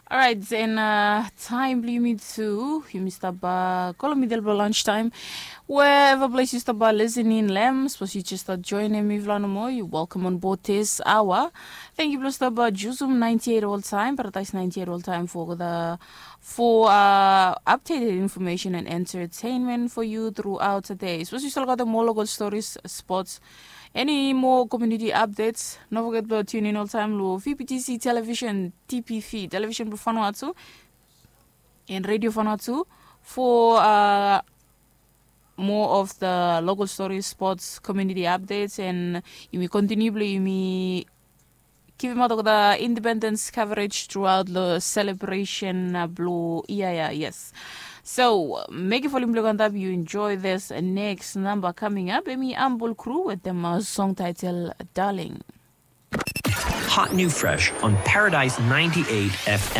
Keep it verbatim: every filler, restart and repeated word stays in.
Orait, en taem blong yumi tu yumi stap go long midel blong lunch taem. Wherever ples yu stap listening long em, sapos yu jes stap joinim mifala nomo, yu welcome on board this hour. Thank you blong stap jusum ninety-eight all time, Paradise ninety-eight all time for the for uh, updated information and entertainment for you throughout the day. Sapos yu stap gat more local stories, sports, any more community updates, no forget blong tune in all time long V P T C television, T P V television blong Vanuatu and radio Vanuatu for uh, more of the local stories, sports, community updates, and yumi continue blong yumi givim out the independence coverage throughout the celebration uh, blong ia ia, yes. So, mekem volume blong antap, you enjoy this next number coming up. Emi Humble Crew with them uh, song title Darling. Hot new fresh on Paradise ninety-eight F M.